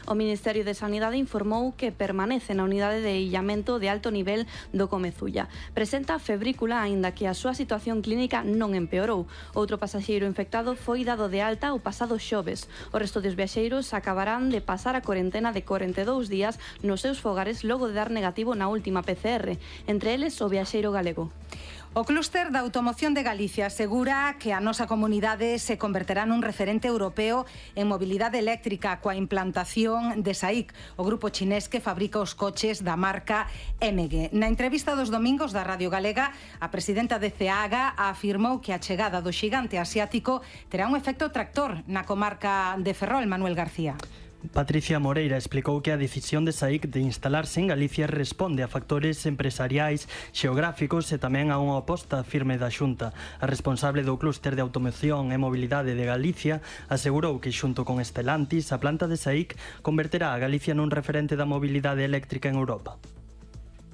O Ministerio de Sanidade informou que permanece na unidade de illamento de alto nivel do Comezulla. Presenta febrícula, aínda que a súa situación clínica non empeorou. Outro pasaxeiro infectado foi dado de alta o pasado xoves. O resto dos viaxeiros acabarán de pasar a corentena de 42 días nos seus fogares logo de dar negativo na última PCR, entre eles o viaxeiro galego. O Clúster da Automoción de Galicia asegura que a nosa comunidade se converterá nun referente europeo en mobilidade eléctrica coa implantación de SAIC, o grupo chinés que fabrica os coches da marca MG. Na entrevista dos domingos da Radio Galega, a presidenta de CEAGA afirmou que a chegada do xigante asiático terá un efecto tractor na comarca de Ferrol. Manuel García. Patricia Moreira explicou que a decisión de SAIC de instalarse en Galicia responde a factores empresariais, xeográficos e tamén a unha aposta firme da Xunta. A responsable do Clúster de Automoción e Mobilidade de Galicia asegurou que xunto con Stellantis a planta de SAIC converterá a Galicia nun referente da mobilidade eléctrica en Europa.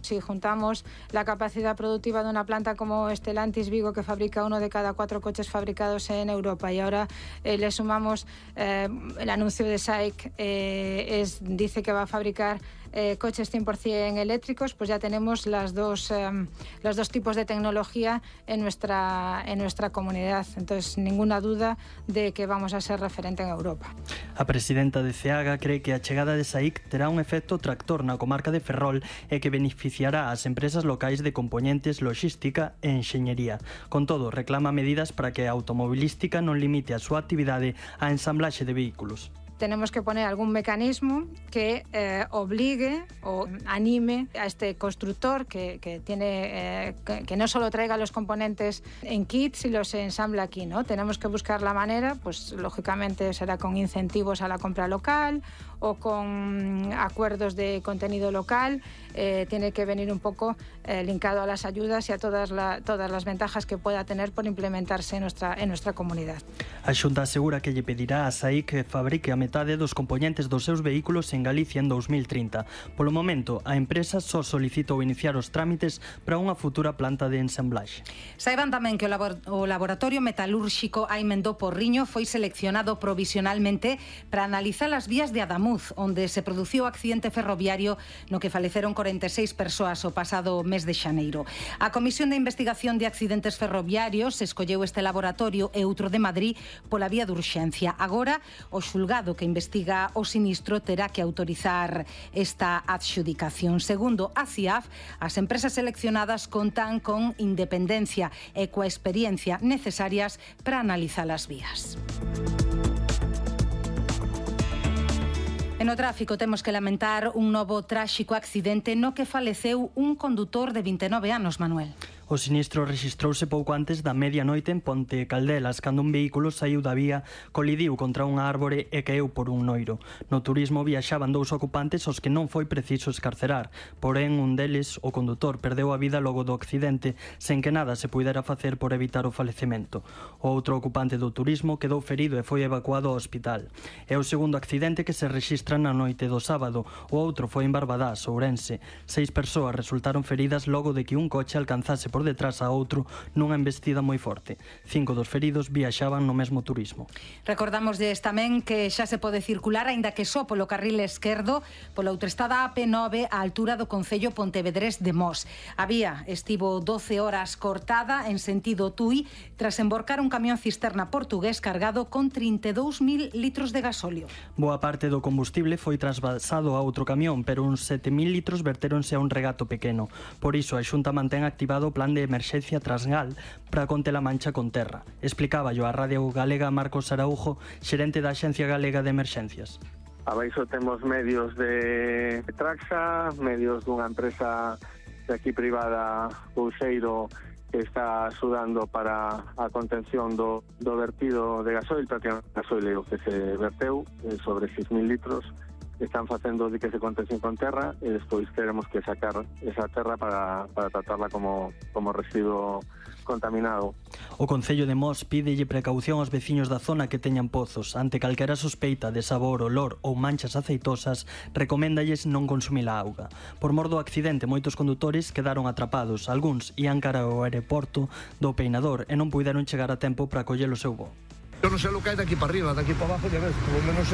Si juntamos la capacidad productiva de una planta como Stellantis Vigo, que fabrica 1 de cada 4 coches fabricados en Europa, y ahora le sumamos el anuncio de SAIC, dice que va a fabricar coches 100% eléctricos, pues ya tenemos los dos tipos de tecnología en nuestra comunidad. Entonces, ninguna duda de que vamos a ser referente en Europa. A presidenta de CEAGA cree que a chegada de SAIC terá un efecto tractor na comarca de Ferrol e que beneficiará ás empresas locais de componentes, logística e enxeñería. Con todo, reclama medidas para que a automobilística non limite a súa actividade á ensamblaxe de vehículos. Tenemos que poner algún mecanismo que obligue o anime a este constructor que no solo traiga los componentes en kits y los ensambla aquí, ¿no? Tenemos que buscar la manera, pues lógicamente será con incentivos a la compra local o con acuerdos de contenido local. Tiene que venir un poco linkado a las ayudas y a todas las ventajas que pueda tener por implementarse en nuestra comunidad. A Xunta asegura que lle pedirá a SAIC que fabrique a metade dos componentes dos seus vehículos en Galicia en 2030. Polo momento, a empresa só solicitou iniciar os trámites para unha futura planta de ensamblaxe. Saiban tamén que o laboratorio metalúrxico Aimendó Porriño foi seleccionado provisionalmente para analizar as vías de Adamuz, onde se produciu o accidente ferroviario no que faleceron 46 persoas o pasado mes de xaneiro. A Comisión de Investigación de Accidentes Ferroviarios escolleu este laboratorio e outro de Madrid pola vía de urxencia. Agora, o xulgado que investiga o sinistro terá que autorizar esta adxudicación. Segundo a CIAF, as empresas seleccionadas contan con independencia e coa experiencia necesarias para analizar as vías. E no tráfico temos que lamentar un novo tráxico accidente no que faleceu un condutor de 29 anos, Manuel. O sinistro rexistrouse pouco antes da medianoite en Ponte Caldelas, cando un vehículo saiu da vía, colidiu contra unha árbore e caeu por un noiro. No turismo viaxaban 2 ocupantes aos que non foi preciso escarcerar, porén un deles, o condutor, perdeu a vida logo do accidente, sen que nada se puidera facer por evitar o falecemento. O outro ocupante do turismo quedou ferido e foi evacuado ao hospital. É o segundo accidente que se rexistra na noite do sábado. O outro foi en Barbadás, Ourense. 6 persoas resultaron feridas logo de que un coche alcanzase por detrás a outro nunha embestida moi forte. 5 dos feridos viaxaban no mesmo turismo. Recordamos tamén que xa se pode circular, aínda que só polo carril esquerdo, pola autoestrada AP9 á altura do concello pontevedrés de Mos. A vía estivo 12 horas cortada en sentido Tui tras emborcar un camión cisterna portugués cargado con 32.000 litros de gasóleo. Boa parte do combustible foi trasvasado a outro camión, pero uns 7.000 litros vertéronse a un regato pequeno. Por iso a Xunta mantén activado o plan de emerxencia Trasgal para conter a mancha con terra. Explicáballo a Radio Galega Marcos Araujo, xerente da Axencia Galega de Emerxencias. Abaixo temos medios de Traxa, medios dunha empresa de aquí privada, Pulseiro, que está axudando para a contención do vertido de gasoil, prácticamente gasoil que se verteu sobre 6.000 litros. Están facendo de que se contención con terra e despois teremos que sacar esa terra para tratarla como residuo contaminado. O Concello de Mos pídelle precaución aos veciños da zona que teñan pozos. Ante calquera sospeita de sabor, olor ou manchas aceitosas, recoméndalles non consumir a auga. Por mor do accidente, moitos condutores quedaron atrapados. Algúns ían cara ao aeroporto do Peinador e non puideron chegar a tempo para coller o seu voo. Eu non sei o que hai daqui para arriba, daqui para abajo, ya ves, por lo menos